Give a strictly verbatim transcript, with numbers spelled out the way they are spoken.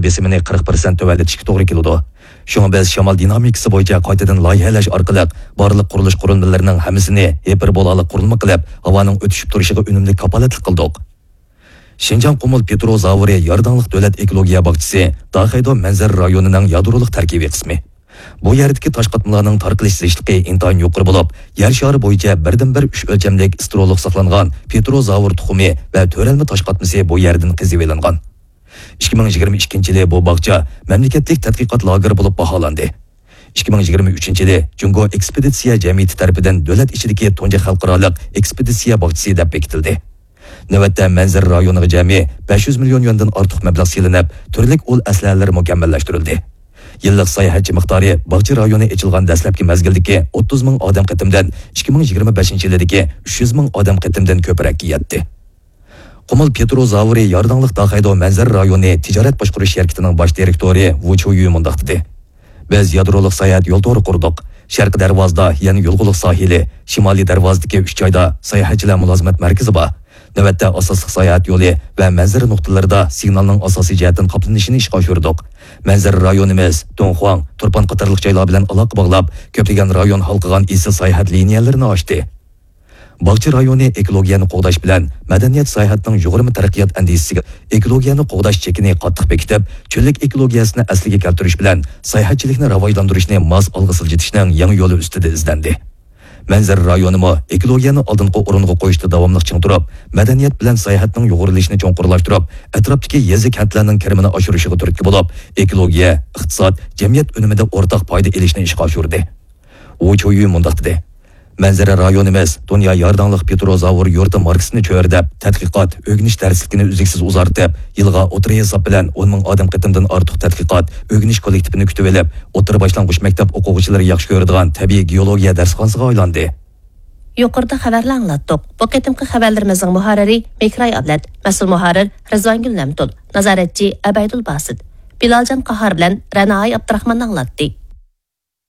بېسىمىنى قىرىق پىرسەنت تۆۋەنلىتىشكە توغرا كېلىدۇ. شۇڭا بىز شامال دىنامىكىسى بويىچە قايتىدىن لايىھەلەش ئارقىلىق بارلىق قۇرۇلۇش قۇرۇلمىلىرىنىڭ ھەممىسىنى ھىپېربولالىق قۇرۇلما قىلىپ، ھاۋانىڭ ئۆتۈشۈپ تۇرۇشىغا ئۈنۈملۈك كاپالەتلىك قىلدۇق. شىنجاڭ قۇمۇل پېترو زاۋۇرى يارداڭلىق دۆلەت ئېكولوگىيە باغچىسى داخەيدو مەنزىرە رايونىنىڭ يادرولۇق تەركىبىي قىسمى. بۇ يەردىكى تاش قاتمىلارنىڭ تارقىلىش زىچلىقى ئىنتايىن يۇقىرى بولۇپ، يەر شارى بويىچە بىردىنبىر ئۈچ ئۆلچەملىك ئىستېرېئولۇق ساقلانغان پېترو زاۋۇر تۇخۇمى ۋە تۆرەلمە تاش قاتمىسى بۇ يەردىن قېزىۋېلىنغان. ئىككى مىڭ يىگىرمە ئىككىنچى يىلى بۇ باغچە مەملىكەتلىك تەتقىقات لاگېرى بولۇپ باھالاندى. ئىككى مىڭ يىگىرمە ئۈچىنچى يىلى جۇڭگو ئېكسپېدىتسىيە جەمئىيىتى تەرىپىدىن دۆلەت ئىچىدىكى تۇنجى خەلقئارالىق ئېكسپېدىتسىيە باغچىسى دەپ بېكىتىلدى. نۆۋەتتە مەنزىرە رايونىغا جەمئىي بەش يۈز مىليون يۈەندىن ئارتۇق مەبلەغ سېلىنىپ، تۈرلۈك ئۇل ئەسلىھەلەر مۇكەممەللەشتۈرۈلدى. يىللىق ساياھەتچى مىقدارى باغچە رايونى ئېچىلغان دەسلەپكى مەزگىلدىكى ئوتتۇز مىڭ ئادەم قېتىمدىن ئىككى مىڭ يىگىرمە بەشىنچى يىلىدىكى ئۈچ يۈز مىڭ ئادەم قېتىمدىن كۆپرەككە يەتتى. قۇمۇل پېترو زاۋۇرى يارداڭلىق داخەيدو مەنزىرە رايونى تىجارەت باشقۇرۇش شىركىتىنىڭ باش دىرېكتورى ۋۇ چيۇيۈ مۇنداق دېدى: بىز يادرولۇق ساياھەت يول تورى قۇردۇق. شەرقىي دەرۋازىدا يەنە يولغۇلۇق ساھىلى، شىمالىي دەرۋازىدىكى ئۈچ جايدا ساياھەتچىلەر مۇلازىمەت مەركىزى بار. نۆۋەتتە ئاساسلىق ساياھەت يولى ۋە مەنزىرە نۇقتىلىرىدا سىگنالنىڭ ئاساسىي جەھەتتىن قاپلىنىشىنى ئىشقا ئاشۇردۇق. مەنزىرە رايونىمىز دۇڭخۇاڭ، تۇرپان قاتارلىق جايلار بىلەن ئالاقە باغلاپ، كۆپلىگەن رايون ھالقىغان ئېسىل ساياھەت لىنىيەلىرىنى ئاچتى. باغچە رايونى ئېكولوگىيەنى قوغداش بىلەن مەدەنىيەت ساياھەتنىڭ يۇغۇرما تەرەققىيات ئەندىزىسىگە، ئېكولوگىيەنى قوغداش چېكىنى قاتتىق بېكىتىپ، چۆللۈك ئېكولوگىيەسىنى ئەسلىگە كەلتۈرۈش بىلەن ساياھەتچىلىكنى راۋاجلاندۇرۇشنى ماس ئالغا سىلجىتىشنىڭ يېڭى يولى ئۈستىدە ئىزدەندى. مەنزىرە رايونىمۇ ئېكولوگىيەنى ئالدىنقى ئورۇنغا قويۇشتا داۋاملىق چىڭ تۇرۇپ، مەدەنىيەت بىلەن ساياھەتنىڭ يۇغۇرۇلۇشىنى چوڭقۇرلاشتۇرۇپ، ئەتراپتىكى يېزا، كەنتلەرنىڭ كىرىمىنى ئاشۇرۇشىغا تۈرتكە بولۇپ، ئېكولوگىيە، ئىقتىساد، جەمئىيەت ئۈنۈمىدە ئورتاق پايدا ئېلىشنى ئىشقا ئاشۇردى. ۋۇ چيۇيۈ مۇنداق دېدى: مەنزىرە رايونىمىز دۇنيا يارداڭلىق پېترو زاۋۇر يۇرتى ماركىسىنى چۆرىدەپ، تەتقىقات، ئۆگىنىش دەرسلىكىنى ئۈزلۈكسىز ئۇزارتىپ، يىلغا ئوتتۇرا ھېساب بىلەن ئون مىڭ ئادەم قېتىمدىن ئارتۇق تەتقىقات، ئۆگىنىش كوللېكتىپىنى كۈتۈۋېلىپ، ئوتتۇرا باشلانغۇچ مەكتەپ ئوقۇغۇچىلىرى ياخشى كۆرىدىغان تەبىئىي گېئولوگىيە دەرسخانىسىغا ئايلاندى. يۇقىرىدا خەۋەرلەر ئاڭلاتتۇق. بۇ قېتىمقى خەۋەرلىرىمىزنىڭ مۇھەررىرى مېھراي ئابلەت، مەسئۇل مۇھەررىر رىزۋانگۈل نەمتۇل، نازارەتچى ئەبەيدۇل باسىت. بىلالجان قاھار بىلەن رەنائاي ئابدۇراخمان ئاڭلاتتى.